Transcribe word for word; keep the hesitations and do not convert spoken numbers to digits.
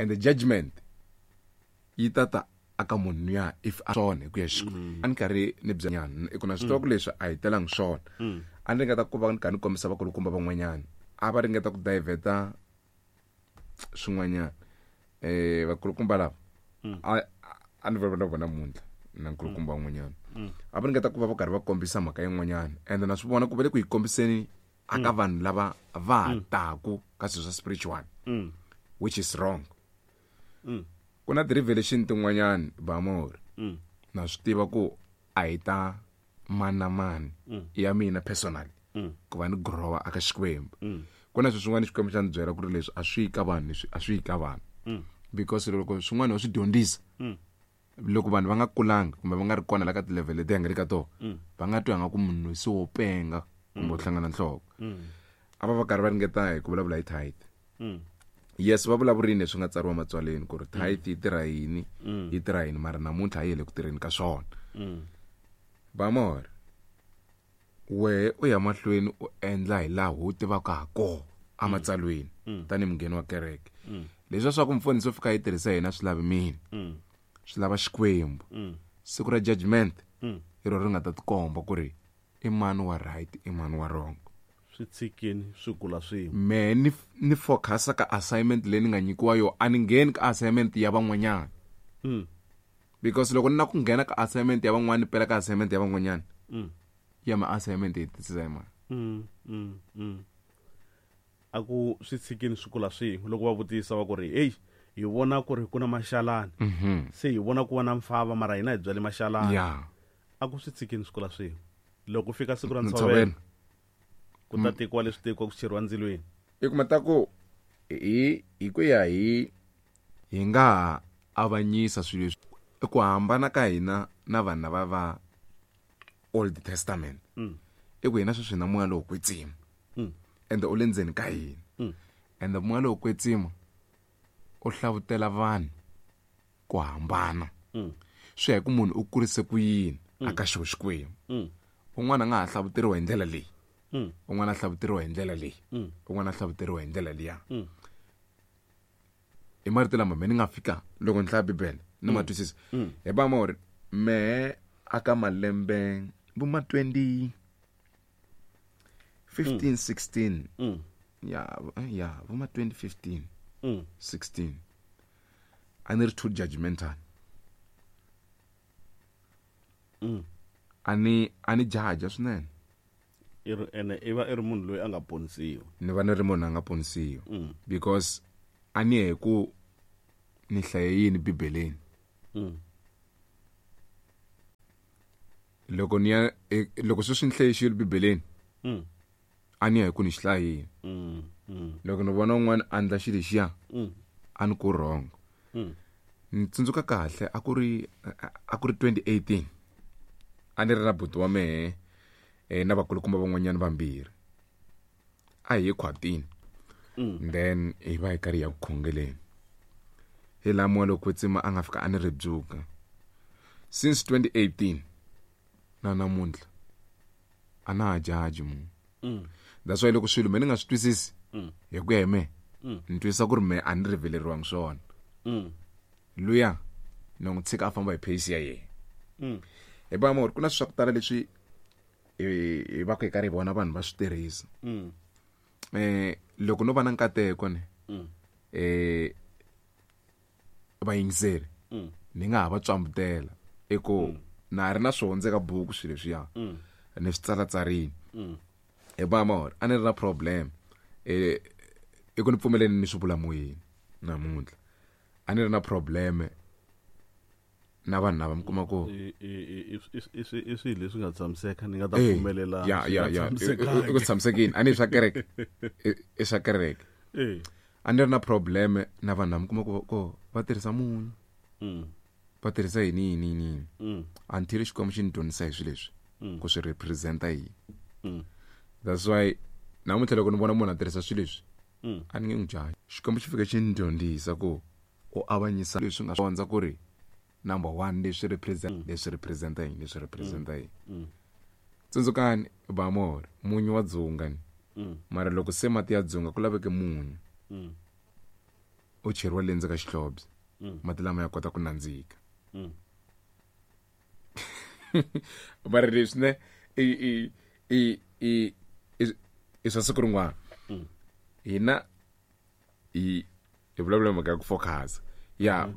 And the judgment yi ta ta aka munhu luya if a swona hi ku ya Xikwembu. A ni karhi ni byanyana i ku na swi tiva ku leswi a hi telangi swona. A ni ringeta ku va ni karhi ni kombisa vakulukumba van'wanyana a va ringeta ku diverta swin'wanyana. Eh vakulukumba lava a a ni vulavula na vona namuntlha na nkulukumba un'wanyana. A va ringeta ku va va karhi va kombisa mhaka yin'wanyana ende na swi vona ku va le ku yi kombiseni aka vanhu lava va ha taku ka swilo swa spiritual, which is wrong. Ku na ti-revelation tin'wanyana Bamori na swi tiva ku a hi ta mani na mani ya mina personally ku va ni growa aka Xikwembu. Ku na swilo swin'wana Xikwembu xa ni byela ku ri leswi a swi yi ka vanhu, leswi a swi yi ka vanhu. Because loko swin'wana wa swi dyondzisa loko vanhu va nga kulanga kumbe va nga ri kona la ka ti-level leti hi nga le ka tona, va nga twi nga ku munhu se wo penga kumbe u hlangana nhloko. A va va karhi va ringeta hi ku vulavula hi tithe. Yes, va vulavurini leswi nga tsariwa matswaleni ku ri tithe yi tirha yini, yi tirha yini, mara namuntlha a yi le ku tirheni ka swona. Bamori, wehe u ya mahlweni u endla hi laha u tivaka ha kona ematsalweni tanihi mungheni wa kereke. Leswiya swa ku mfundhisi u fika yi tirhisa yena swi lavi mina, swi lava Xikwembu. Siku ra judgment hi rona ri nga ta tikomba ku ri i mani wa right, i mani wa wrong. Swi tshikini swi kula swin'we. Me ni ni focus ka assignment leyi ni nga nyikiwa yo, a ni ngheni ka assignment ya van'wanyana. Because loko ni na ku nghena ka assignment ya van'wana ni pela ka assignment ya van'wanyana, ya ma assignment yi hetisisa hi mani? A ku swi tshikini swi kula swin'we. Loko va vutisa va ku ri hey, hi vona ku ri ku na maxalani, se hi vona ku va na mfava, mara hina hi byale maxalani. Yeah. A ku swi tshikini swi kula swin'we. Loko fika siku ra ntshovelo, ku ta tekiwa leswi tekiwa ku cheriwa ndzilweni. I kuma ta ku hi hi ku ya hi hi nga avanyisa swilo leswi i ku hambana ka hina na vanhu lava va Old Testament. I ku hina sweswi na moya lowo kwetsima. Ende u le ndzeni ka hina. Ende moya lowo kwetsima u hlavutela vanhu ku hambana. Swi ya hi ku munhu u kurise ku yini aka xo Xikwembu. Un'wana a nga ha hlavuteriwa hi ndlela leyi, un'wana a hlavuteriwa hi ndlela leyi, un'wana a hlavuteriwa hi ndlela liya. Hi marito lama me ni nga fika loko ni hlaya Bibele ni ma twisisa. Hi ba ma uri me aka malembe vo ma twenty fifteen, sixteen. Ya, ya, vo ma twenty fifteen, sixteen. A ni ri too judgmental. A ni, a ni jaja swinene. I ri, ene i va i ri munhu loyi a nga ponisiwa. Ni va ni ri munhu a nga ponisiwa. Because a ni hi ku ni hlaye yini Bibeleni. Loko ni ya, e, loko sweswi ni hlaye xilo Bibeleni, a ni ya hi ku ni xi hlayile. Loko ni vona un'wana a endla xilo lexiya, a ni ku wrong. Ni tsundzuka kahle a ku ri, a ku ri twenty eighteen. A ni ri na buti wa mehe, eh, na vakulukumba van'wanyana vambirhi. A hi ye khwatini. Then hi va hi karhi hi ya ku khongeleni. Hi laha moya lowo kwetsima a nga fika a ni rebuka. Since twenty eighteen na namuntlha a na ha judge munhu. That's why loko swilo me ni nga swi twisisi hi ku ya hi mehe, ni twisisa ku ri mehe a ni riveleriwangi swona. Luya ni n'wi tshika a famba hi pace ya yena. Hi ba mo ku na swa ku tala leswi hi, hi va ku hi karhi hi vona vanhu va swi tirhisa. Eh, loko no va na nkateko ni, eh, vayingiseri, ni nga ha va tswambutela i ku na ha ri na swona eka buku swilo leswiya, ni swi tsalatsarini. Hi ba mo a ni ri na problem, eh, i ku ni pfumeleni ni swi vula moyeni namuntlha. A ni ri na problem na vanhu lava mi kuma ku I, i, i, i, i, i, i swilo leswi nga tshamiseka, ni nga ta Eh, pfumelela ya, swi ya, nga ya. tshamisekanga. I, i, i ku tshamisekini. A ni swa kereke. I, i swa kereke. Eh. A ni ri na problem na vanhu lava mi kuma ku, ku va tirhisa munyu. Mm. Va tirhisa yini, yini, yini, yini. Mm. Until Xikwembu xi ni dyondzisa hi swilo leswi, Mm. ku swi represent-a yini. Mm. That's why namuntlha loko ni vona munhu a tirhisa swilo leswi, Mm. a ni nge n'wi jahi. Xikwembu xi fike xi ni dyondzisa ku u avanyisa leswi nga dyondza ku ri number one leswi represent, Mm. leswi represent-a yini, leswi represent-a yini. Mm. Tsundzukani Bamor, munyu wa dzunga ni. Mm. Mara loko se mati ya dzunga ku laveke munyu. Mm. o cheriwa le ndzeni ka xihlobyana mati lama ya kota ku nandzika. Mm. Mara leswi ne i i i i i- i swa siku rin'wana. Hina hi hi vulavula mhaka ya ku focus ya.